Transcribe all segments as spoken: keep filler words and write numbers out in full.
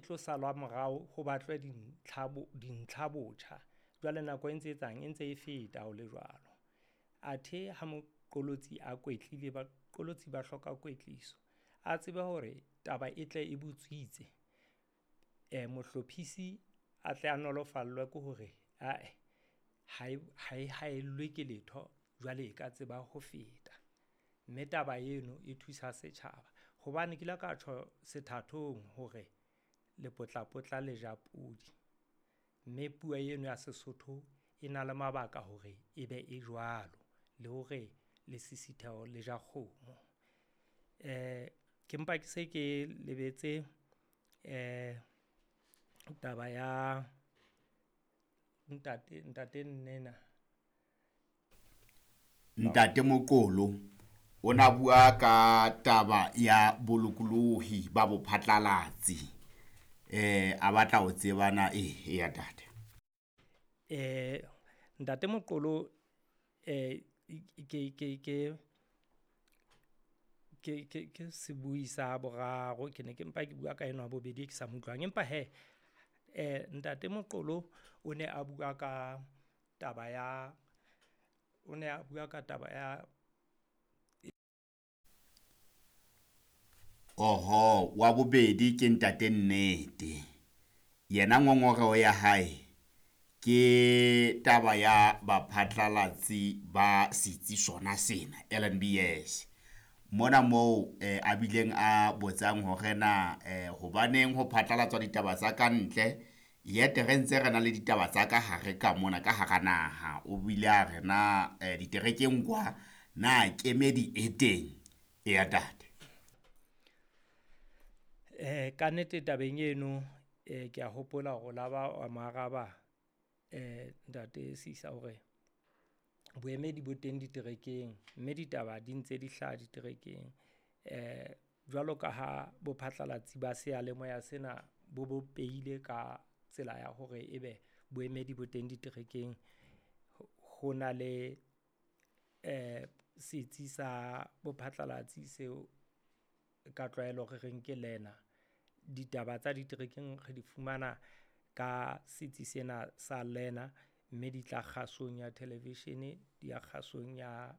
tlo salwa morao ho batlwe dintlha dintlha botjha. Jwale nako e ntse etsang, e ntse e feta ho le jwalo. Athe ha moqolotsi a kwetlile, baqolotsi ba hloka kwetliso, a tsebe hore taba e tle e butswitse. Mohlophisi a tle a nolofallwe ke hore ae, ha e, ha e haellwe ke letho jwale e ka tseba ho feta. Mme taba eno e thusa setjhaba hobane ke ile ka tjho sethathong hore lepotlapotla le ja podi, mme puo eno ya Sesotho e na le mabaka hore e be e jwalo, le hore lesisitheho le ja kgomo. Ke mpa ke se ke lebetse taba ya ntate, ntate Nnena. Ntate Moqolo o na bua ka taba ya bolokolohi ba bophatlalatsi. Eh a batla ho tseba na eh ya ntate. Eh Ntate Moqolo, eh ke ke ke ke ke ke sebui sa boraro, ke ne ke mpa ke bua ka enwa bobedi ke sa mo utlwang. Empa hee eh Ntate Moqolo o ne a bua ka taba ya, o ne a bua ka taba ya. Oho, wa bobedi ke ntate Nnete. Yena ngongoreho ya hae ke taba ya baphatlalatsi ba setsi sona sena L N B S. Mona moo eh, a bileng a botsang hore na eh, hobaneng ho phatlalatswa ditaba tsa ka ntle, yet re ntse re na le ditaba tsa ka hare ka mona ka hara naha. O bile a re na eh, diterekeng kwa na kemedi e teng e ya ntate. Eh ka nnete tabeng eno eh ke a hopola hore la ba wa mo araba eh ntate Sisa hore boemedi bo teng diterekeng, mme ditaba di ntse di hlaha diterekeng. Eh jwalo ka ha bophatlalatsi ba seyalemoya sena bo bopehile ka tsela ya hore ebe boemedi bo teng diterekeng, ho na le eh setsi sa bophatlalatsi seo ka tlwaelo re reng ke lena. Ditaba tsa diterekeng re di fumana ka setsi sena sa lena, mme di tla kgasong ya television, di ya kgasong ya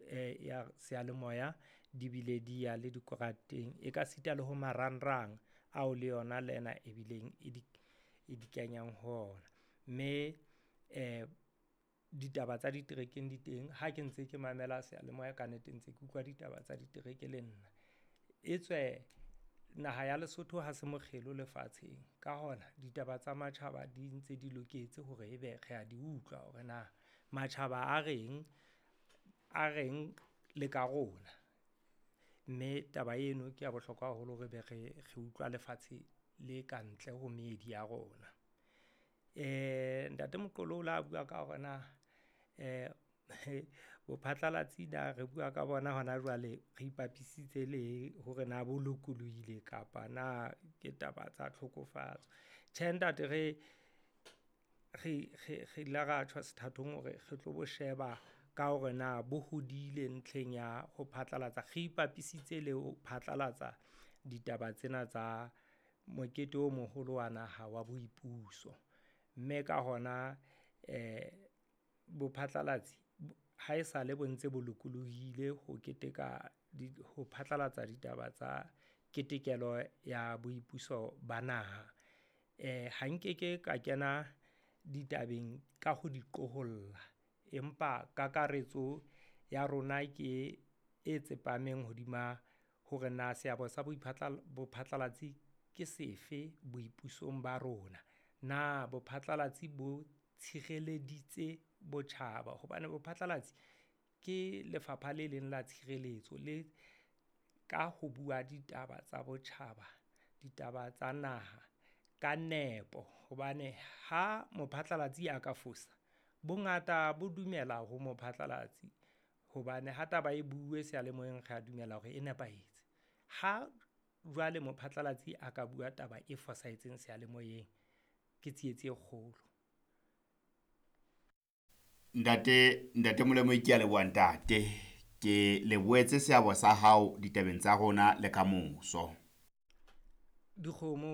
eh ya seyalemoya, di bile di ya le dikoranteng, e ka sita le ho marangrang ao le yona lena ebileng e di e di kenyang ho ona. Mme eh ditaba tsa diterekeng di teng. Ha ke ntse ke mamela seyalemoya ka nnete ntse ke utlwa ditaba tsa ditereke le nna. Etswe naha ya Lesotho ha se mokgelo lefatsheng, ka hona ditaba tsa matjhaba di ntse di loketse hore ebe re a di utlwa hore na matjhaba a reng, a reng le ka rona. Mme taba eno ke ya bohlokwa haholo hore be re re utlwa lefatshe le ka ntle ho meedi ya rona. Eh Ntate Moqolo o la bua ka hore na eh bophatlalatsi na re bua ka bona hona jwale re ipapisitse le hore na bo lokolohile kapa na ke taba tsa tlhokofatso. Tjhe ntate, re re re re ile ra tjho sethathong hore re tlo bo sheba ka hore na bo hodile ntlheng ya ho phatlalatsa, re ipapisitse le ho phatlalatsa ditaba tsena tsa mokete o moholo wa naha wa boipuso. Mme ka hona eh bophatlalatsi ha esale bo ntse bo lokolohile ho keteka ho phatlalatsa ditaba tsa ketekelo ya boipuso ba naha. Eh ha nkeke ka kena ditabeng ka ho di qoholla, empa kakaretso ya rona ke e tsepameng hodima hore na seabo sa bophatlalatsi ke sefe boipusong ba rona. Na bophatlalatsi bo tshireleditse botjhaba, hobane bophatlalatsi ke lefapha le leng la tshireletso le ka ho bua ditaba tsa botjhaba, ditaba tsa naha ka nepo. Hobane ha mophatlalatsi a ka fosa, bongata bo dumela ho mophatlalatsi hobane ha taba e bue seyalemoyeng re a dumela hore e nepahetse. Ha jwale mophatlalatsi a ka bua taba e fosahetseng seyalemoyeng, ke tsietsi e kgolo. Ntate Ntate Molemo, ke a leboha ntate. Ke lebohetse seabo sa hao ditabeng tsa rona le ka moso. Dikgomo.